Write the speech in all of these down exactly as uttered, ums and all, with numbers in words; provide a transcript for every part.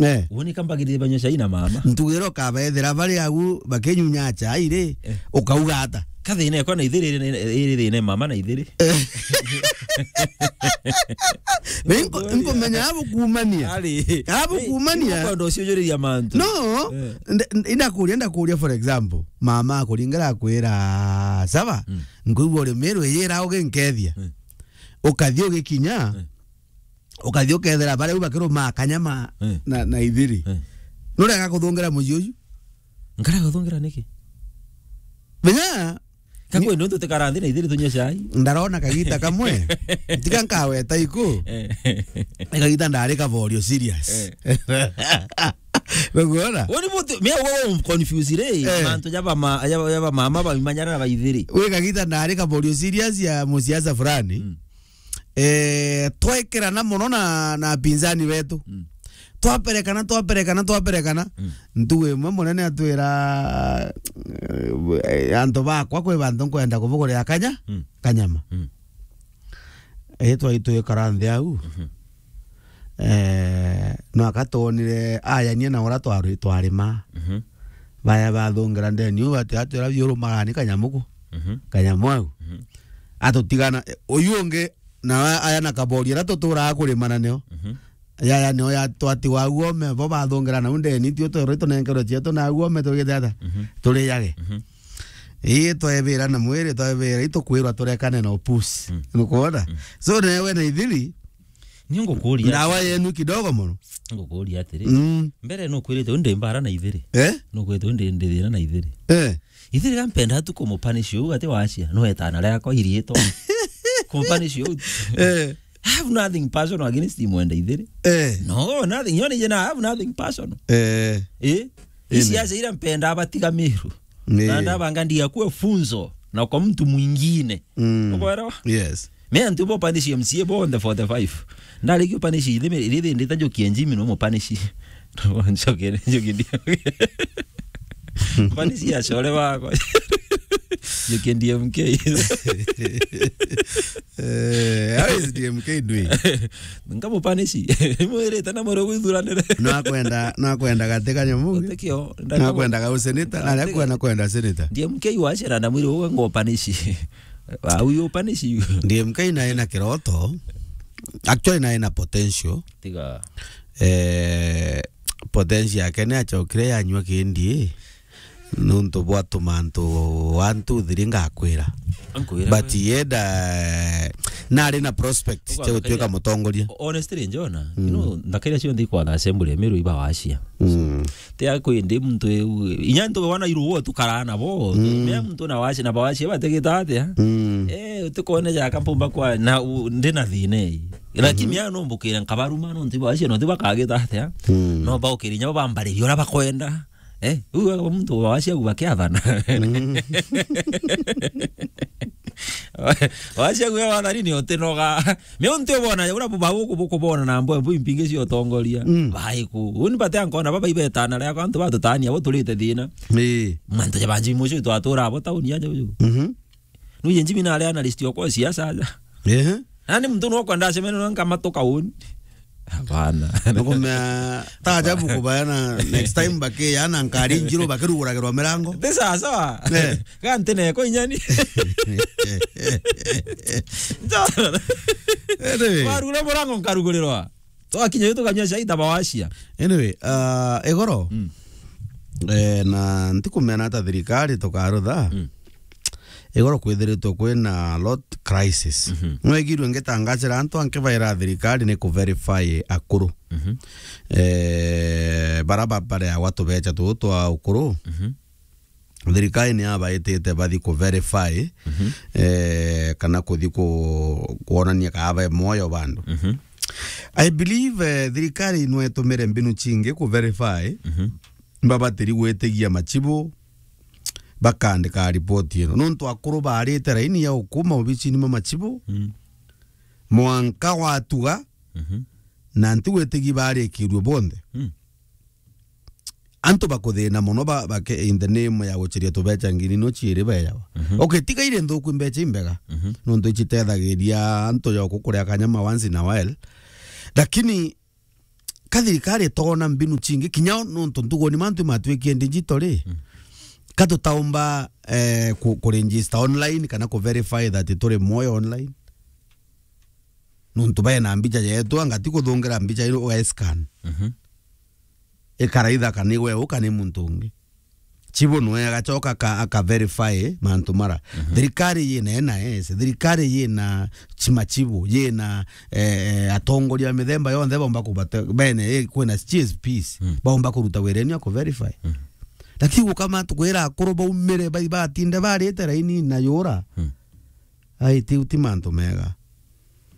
Eh. Uuni kambagirire banywe cai na mama. Ntugiro kabaethera bari agu bakinyunya chai ri, Eh. ukauga ata? Kathina ekwa na ithiri iri, iri thina mama na ithiri. Eh. Nko-, nkomenya abu kumania. Ari. Abu kumania. Kwenda uciujuriria mantu. No, Eh. nde-, nde-, indakuria, ndakuria, for example, mama akuringira akwira, "Saba, Mm. nkuigua uri Meru, iyira uginkethia." Mm. Ukathi ugikinya, Mm. ukathi ukethira baria u bakirumaa kanyama Mm. na, na ithiri. Mm. Nurega kuthungira mucii uyu? Nkarega kuthungira niki? Menya, Kakwenda untu tikara nthi na ithiri tunywe cai? Ndarona kagita kamwe. Tiga nkaweta iku. Eh. Ni kagita ndari kaborio serious. Eh. Nukwona? Woni buti, me wo confuse ri, Eh. mantu jaba ma-, jaba, jaba mama ba imanyara na ba ithiri. We kagita ndari kaborio serious ya musiasa fulani. Mm. Eh, twekerana mono na, na pinzani wetu. Mm. Twaperekana, twaperekana, twaperekana. Mm. Ntugu imwe munene atwira, eh, antu bakwa kwi bantu nkwenda kubugurira kanya-, Mm. kanyama. Mm. Ii twai twikara nthi au. Mhm. Eh, no aka twonire ayanie na uria twari-, twarima. Mhm. Baya bathungira ndeni u ati atwira biurumagani kanyamu ku. Mhm. Kanyamu au. Mhm. Atutigana, eh, uyu ungi nawe aya na kabori aria tuturaga kurimana nio. Mhm. Yaya nio ya twatigwa au ome, bo bathungira nau ndeni, tio twerwe tunenkerwe cietu na au ome tugite ata? Mhm. Turiyage. Mhm. Ii, twebira na mwiri, twebira, itukwirwa turekane na upusi. Mm. Nukwona? Mm. So, newe na ithiri, Ni ngukuria ndawa atiri. Yenu kidogo mono. Ngukuria atiri. Mm. Mbere nukwirite undi mbara na ithiri. Eh? Nukwirite undi ndi thina na ithiri. Eh. Ithiri gampenda tu kumupanish u ati wacia. No etana riakwa iriitwa. Kumupanish u. Eh. I have nothing personal against him wenda ithiri. Eh. No, nothing. Yoni jena, I have nothing personal. Eh. Eh? Isi Ine. Acia ira mpenda abatiga Meru. Ni. Na ndabanga ndiga kuwe funzo na kwa mtu mwingine. Mm. Ukwelewa? Yes. Me antu bo panish M C A bo on the forty-five. Ndari kiu panish ithimi, ithimi ndita njokie njimi no mo panish. Njokie, njokie ndi. Panish ya shore wako. Njokie D M K. Eh, how is D M K doing? Nkamupanish. Mwirite na mwiri gwithuranire. Nakwenda, nakwenda gati kanyamu. Utekio, Nakwenda ga useneta, na Gati- akwenda kwenda seneta. D M K wacera na mwiri uwe ngo panish. Wa uyu panish. D M K nae na kiroto. Actually nae na potential. Tiga. Eh, potential yake ni achokire yanyua kindi. Nuntu bwa tumantu one, two, three ngakwira. Nkwira But we. Yenda, eh, nari na prospect Ukwamba cia gutuika kaira- mutongoria. Honestly, Njona, Mm. you know, ndakaira cionthe ikwatha assembly ya Meru iba wacia. Mm. Ti akwindi muntu eu, inya ntu wana iruo tukaraa nabo. Mm. Mea muntu na wacia na bawacia bategeta atia? Mm. Eh, utikone ja kampumba kwa na u-, ndi na thina ii. Lakini Mhm. ya no mbukire nkabaruma no ntiba wacia no tiba kageta atia? Mm. No baukire inya bambariria ura bakwenda. Eh, u muntu wacia u bakiathana. Mm. Wacia guya wathani ni utinoga. Me unti ubona, ura buba guku bukubona na mbo, mbo impingi cia utongoria. Mm. Bai ku. Uni bate ankona baba ibetana ria kwa antu batutania bo turite thina. Ii. Mantu ja banji mucio twatura abo tauni aja uju. Mhm. Nu yenji mina ria analyst okwa siasa aja. Ehe. Nani muntu no kwenda acemene no nkamatoka uni. Hapana. Nukumea ta ajabu kubayana next time bakiyana nkari njiru bakiruguragirwa mirango. Ti sawa sawa. Eh. Ga ntine ko inyani. Anyway. Warugura murango nkarugurirwa. Twakinya yu tukanyua cai ta bawacia. Anyway, uh, igoro. Mm. Eh, na ntikumena ta thirikari tukarutha. Mm. Igoro kwithiritwe kwina lot crisis. Mhm. Nwegirwe ngitangacira antu anke baira thirikari ni ku verify akuru. Mhm. Eh, bara ba-, bareagwa tubecha tuu twa ukuru. Mhm. Thirikari ni abaitite bathi ku verify, Mhm. eh, kana kuthi ku-, kwonania kaa be moyo bandu. Mhm. I believe, eh, thirikari no itumire mbinu chingi ku verify. Mhm. Babatiri gwitigia machibu, bakaandika ripoti ino. Nontu akuru baarite raini ya ukuma obicini ma machibu, Mm. mwanka watuga, Mhm. na ntigwitigi baarikirue bonthe. Mm. Antu bakuthina mono ba-, bake-, in the name ya gucheria tubecha ngiri no chiiri beyawa. Mhm. Okay, tiga iri nthuku, imbecha imbega. Mhm. Nontu ichitethagiria antu joku kuria kanyama once in a while. Lakini Ka thirikari itoona mbinu cingi, kinya nontu ntuguni mantu matwikie digital ri, mm, ka tutaumba, eh, ku, ku register online kana ku verify that turi mwoyo online? Nontu baina mbicha yetu, anga ti kuthungira mbicha iu uga scan. Mhm. Ikaraitha kana ni we u kana ni muntu ungi. Chibu nwe agachoka aka, aka verify mantu mara. Mhm. Thirikari yina N I S, thirikari yina chimachibu, yina, eh, eh, atongoria mithemba yonthe baumba kubata, bene, eh, kwina C S Ps, mm, baumba kuruta wira eni ya ku verify. Mm. Lakini gukama tukwira akuru baumire, bai batinde barite raini na yura. Mm. Ai, tiu ti mantu mega.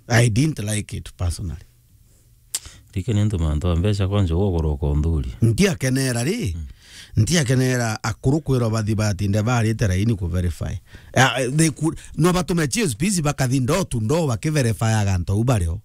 I didn't like it personally. Rike ni antu mantu a mbeca kwanja ugurwa ukonthuri. Ntiakenera ri. Mm. Ntiakenera akuru kwirwa bathi batinde barite raini ku verify. Ah, they could, no batume C S Ps bakathi door to door baki verify aga antu au bario.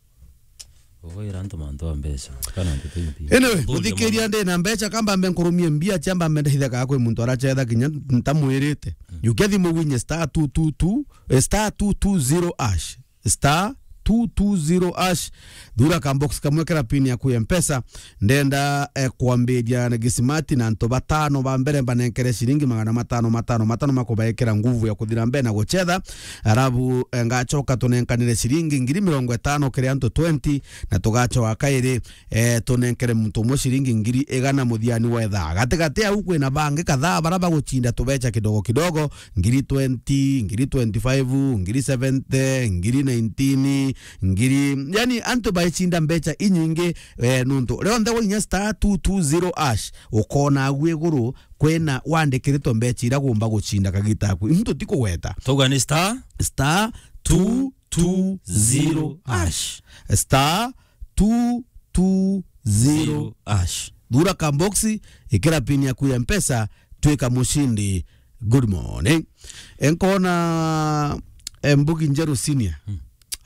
Ugaira antu mantu a mbeca, kana antu ti mbi. Anyway, muthikiria ndi na mbeca, kamba mbe nkurumie mbia, chamba mbe ndahitha kaa kwi muntu arachetha kinya ntamwirite. Mm. Jukia thimu winye star two two two, eh, star two two zero hash. Star two two zero hash. Thura ka box kamwe kera pin yaku ya Mpesa. Ndenda, eh, kwambiria na gisimati na antu batano ba mbere mbanenkere ciringi magana matano, matano, matano makubaikira nguvu ya kuthira mbere na guchetha. Arabu, eh, ngachoka tunenkanire ciringi ngiri mirongo itano kiri antu twenty, na tugachoka kairi, eh, tunenkere muntu umwe ciringi ngiri igana muthiani wa ithaa. Gatigati au kwina bangi kadhaa bara baguchinda tubecha kidogo kidogo, ngiri twenty, ngiri twenty-five, ngiri seventy, ngiri nineteen, ngiri, yani, antu baichinda mbecha inyingi, eh, nuntu rionthe wainya star two two zero hash, ukona agu iguru kwina wandikiritwe mbecha iria gumba guchinda kagita aku. Into tikugweta. Tauga ni star? Star two two zero hash. Star two two zero hash. Thura ka box, ikira pin yaku ya Mpesa, twika mushindi. Good morning. Enkona, eh, Mbugi Njeru Senior. Hmm.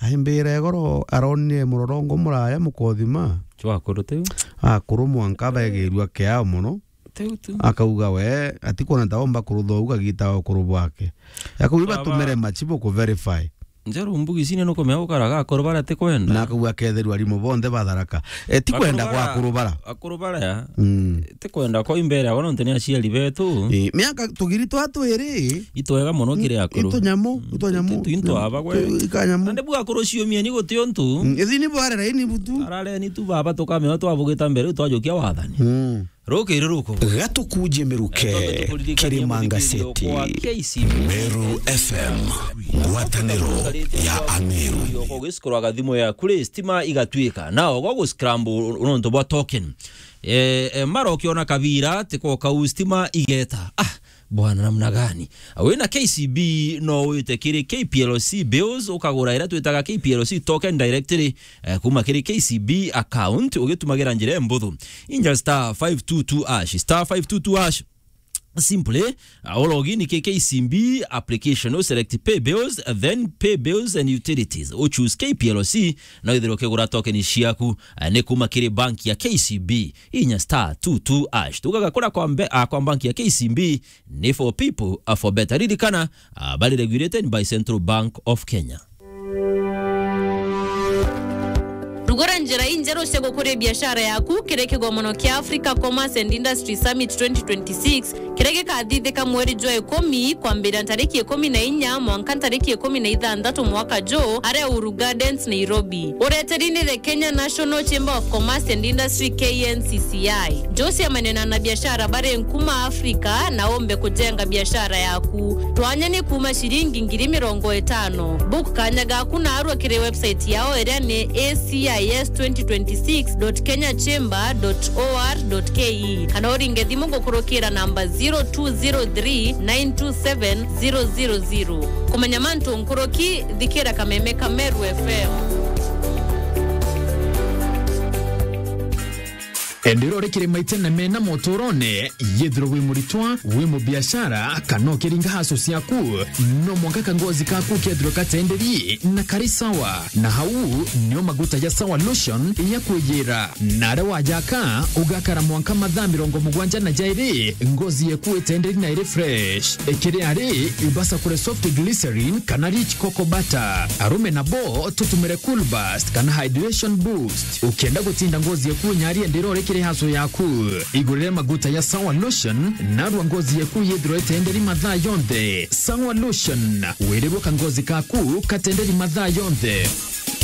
Aimbira igoro aronire murorongo muraya mukothima. Chwa akuru tiu? Akuru mwanka begirua kiao mono. Tiu tu. Akauga we, atikwona ta omba kurutha uu kagita ga ukuru bwake. Akauga batumire machibu ku verify. Njeru Mbugi Senior nukumenya gukaraga akuru baria atikwenda. Na akauga aketherua arimu bonthe ba Tharaka. Eh, ti kwenda kwa akuru bara. Akuru bara. Mm. Ti kwenda kwa imbere abo nontu ni aciari betu. Eh, miaka tugiri twa twiri. Itwega mono kiri akuru. Itunyamu, mm, itunyamu. Itu, itu, itu aba gwe. Tu, ikanyamu. Nande bu akuru ciumia ni guti untu. Mm, ithini bware raini butu. Arare ni tu baba tukamenya twabugita mbere twajukia wathani. Mm. Rukiri ruku. Gatukuje miruke, eh, tukuririkania kiri Manga muthikiririo City. Kwa K C B. Meru F M, ngwataniro ya Ameru. Ugisikura thimu yaku ri, stima igatuika. Na ogo guscramble nontu bwa token. Eh, eh, mara ukiona kabira, tiko kau stima igeta. Ah, bwana, namna gani? Wina K C B no wite kiri K P L C bills, ukagura iria twitaga K P L C token directly, eh, kuma kiri K C B account, ugitumagira njira imbuthu. Inya star five two two hash, star five two two hash. Simply, uh, u log in ki K C B application, u select pay bills, then pay bills and utilities. U choose K P L C, na withirwe ukigura token ciaku, uh, ni kuma kiri bank ya K C B. Inya star two two hash. Tugaga kura kwa mbe-, uh, kwa bank ya K C B, ni for people, uh, for better. Ririkana, uh, bari regulated by Central Bank of Kenya. Rugura njira injeru cia gukuria biashara yaku kiri kigomono kia Africa Commerce and Industry Summit twenty twenty-six, kiria gikathithika mweri jwa ikumi, kwambiria ntariki ikumi na inya mwanka ntariki ikumi na ithanthatu mwaka juu, aria Uhuru Gardens, Nairobi. Ureteri ni the Kenya National Chamber of Commerce and Industry, K N C C I. Njuciamania na anabiashara bari nkuma Africa na umbe kujenga biashara yaku. Twanya ni kuuma ciringi ngiri mirongo itano. Book kanya gaku naarua kiri website yao iria ni A C I S twenty twenty-six dot kenya chamber dot O R dot K E, kana uringe thimu gukurukira namba zero two zero three nine two seven zero zero zero. Kumenya mantu nkuruki, thikira kameme ka Meru F M. Ndiro rikiri maitene mena motorone, yethirwe wi muritwa, wi mubiashara, kana ukiringa haso ciaku, no mwanka kangozi kaku kethirwe katenderi na kari sawa. Na hau nio maguta ya Sawa Lotion ya kwiyira. Na aria wajaka, ugakara mwanka mathaa mirongo mugwanja na jairi, ngozi yeku itenderi na iri fresh. Ikiri ari, ibasa kure soft glycerin kana rich cocoa butter. Arume nabo tutumire Cool Burst kana hydration boost. Ukienda gutinda ngozi yeku nyari ndiro rikiri haso yaku, igurire maguta ya Sawa Lotion, narua ngozi yeku yethirwe itenderi mathaa yonthe. Sawa Lotion, wirirwe kangozi kaku katenderi mathaa yonthe.